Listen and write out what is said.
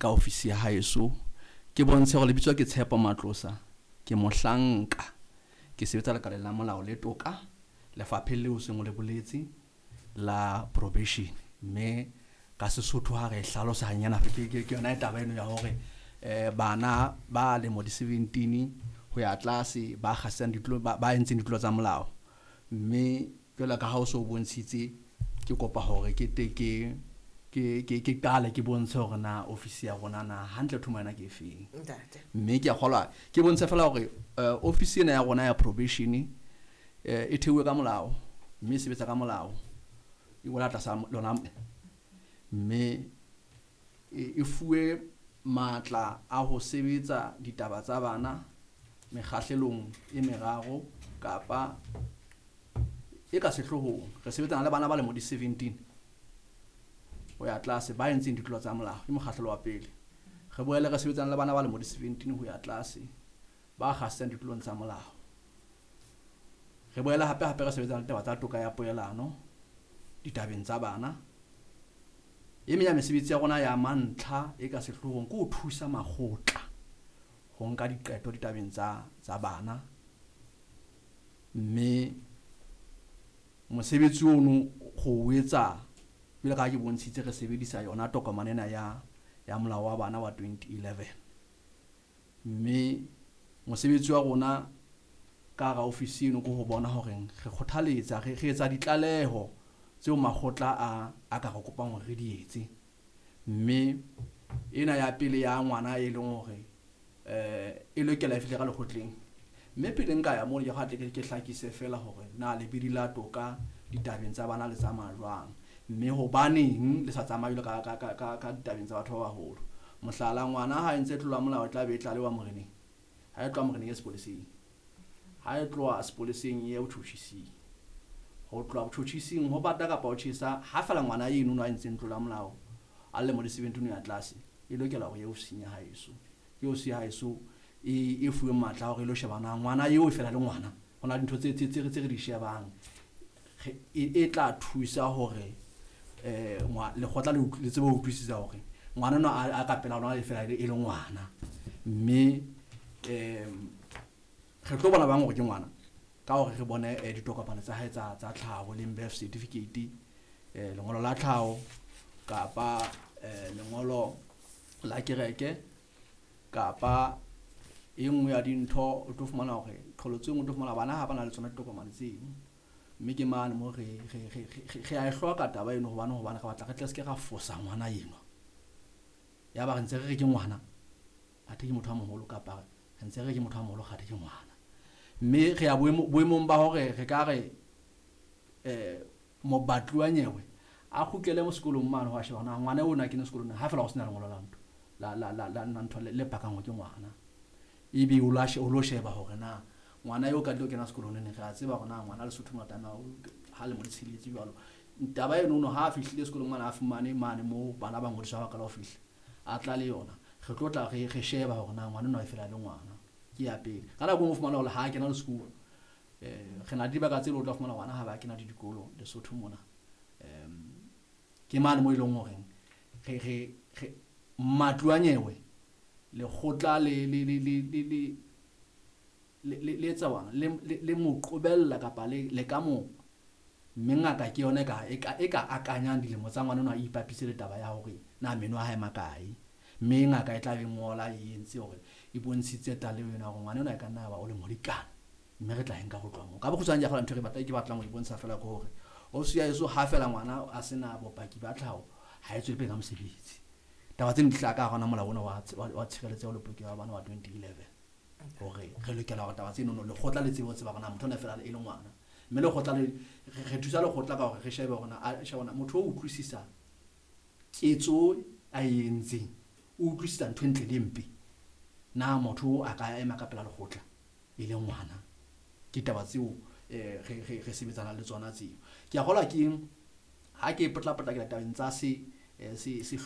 ka ofisi ya haeso, ke bontshe hore lebitso ke Tshepo Matlosa, ke mohlanka, ke sebetsa lekaleng la molao le toka lefapheng leo seng o le boletse la probation. Mme ka Sesotho ha re e hlalosa hanyana, ke yona taba eno ya hore bana ba lemo di 17 ho ya tlase ba kgasang ditlo, ba entseng ditlolo tsa molao. Mme jwalo ka ha o so bontshitse, ke kopa hore ke te ke qale ke bontshe hore na ofisi ya rona na hantle thomo yona ke efeng. Mme ke a kgolwa ke bontshe fela hore ofisi ena ya rona ya probation e theuwe ka molao, mme e sebetsa ka molao, e wela tlasa lona, mme e fuwe matla a ho sebetsa ditaba tsa bana mekgahlelong e meraro kapa e ka sehloohong. Re sebetsana le bana ba lemo di 17 ho ya tlase ba entseng ditlolo tsa molao, ke mokgahlelo wa pele. Re boele re sebetsana le bana ba lemo di 17 ho ya tlase ba kgasang ditlolong tsa molao. Re boele hape hape re sebetsana le taba tsa toka ya poelano ditabeng tsa bana. E meng ya mesebetsi ya rona ya mantlha e ka sehloohong ke ho thusa makgotla ho nka diqeto ditabeng tsa bana. Mme mosebetsi ono go o etsa jwalo ka ha ke bontshitse, re sebedisa yona tokomane ena ya molao wa bana wa 2011. Mme mosebetsi wa rona ka hara ofisi eno ke ho bona hore re kgothaletsa, re etsa ditlaleho tseo makgotla a ka re kopang hore re di etse. Mme ena ya pele ya ngwana e leng hore e lokela e fihle ka lekgotleng. Mme pele nka ya moo, ke tle ke hlakise fela hore na lebidi la toka ditabeng tsa bana le tsamaya jwang, mme hobaneng le sa tsamaye jwalo ka ditabeng tsa batho ba baholo. Mohlala, ngwana ha entse tlolo ya molao e tla be e tlalewa moreneng. Ha e tloha moreneng e sepoleseng, ha e tloha sepoleseng e ye botjhotjhising, ho tloha botjhotjhising ho bata kapa ho tjhesa, ha fela ngwana eno a entseng tlolo ya molao a lemo di 17 ya tlase, e lokela hore e ofising ya haeso. Ke ofisi ya haeso e fuweng matla a hore e lo sheba na ngwana eo e fela le ngwana. Ho na le dintho tse re di shebang, e tla thusa hore lekgotla le tsebe ho utlwisisa hore ngwana enwa a ka pela rona e fela e le ngwana. Mme re tlo bona bang hore ke ngwana ka hore re bone ditokomane tsa hae tsa tlhaho, leng birth certificate, lengolo la tlhaho kapa lengolo la kereke, kapa e nngwe ya dintho. O tlo fumana hore qholotso e nngwe, o tlo fumana bana ha ba na le tsona ditokomane tseno. Mme ke mane mo re a e hloka taba eno, hobane re batla re tle se ke ra fosa ngwana enwa, ya ba re ntse re re ke ngwana athe ke motho a moholo, kapa re ntse re re ke motho a moholo kgathe ke ngwana. Mme re ya boemong ba hore re ka re mobatli wa nyewe a kgutlele mo sekolong mane ho a sheba na ngwana ona kene sekolong, ha fela ho sena lengolo la ntho la ntho le pakang hore ke ngwana, ebe o lo sheba hore na ngwana eo ka tlo kena sekolong neng. Re a tseba hore na ngwana Lesotho mo tlameha ha lemo di tsheletse jwalo. Taba eno no ha a fihlile sekolong mane, a fumane mane moo bana ba ngodiswa ba qala ho fihla, a tla le yona, re tlo tla re sheba hore na ngwana enwa e fela le ngwana. Ke ya pele. Ka nako e nngwe o fumana hore ha a kena le sekolo, re na le dibaka tse leng o tla fumana ngwana ha ba kena le dikolo Lesotho mona. Ke mane mo e leng hore re matlo a nyewe lekgotla le etsa bana le mo qobella kapa le ka mo, mme ngaka ke yona e ka akanyang dilemo tsa ngwana enwa, e ipapise le taba ya hore na meno a hae makae. Mme ngaka e tla be ngola e entse hore e bontshitse tlaleho ena hore ngwana enwa e ka nna ba o lemo di kana, mme re tla e nka ho tloha moo. Ka bokgutshwane ke kgola ntho e ke batlang ho e bontsha fela ke hore ofisi ya heso ha fela ngwana a sena bopaki ba tlhaho, ha e tswele pele ka mosebetsi. Taba tseno di hlaha ka hara molao ona wa tshireletseho le polokeho ya bana wa 2011, hore re lokela hore taba tseno lekgotla le tsebe ho tseba hore na motho ona fela e le ngwana. Mme lekgotla le re thusa lekgotla ka hore re shebe hore na sheba hore motho o utlwisisa ketso a e entseng, o utlwisisa ntho e ntle le mpe, na motho a ka ema ka pela lekgotla e le ngwana. Ke taba tseo re sebetsana le tsona tseo. Ke a kgolwa ke ha ke potlapotla ke tabeng tsa se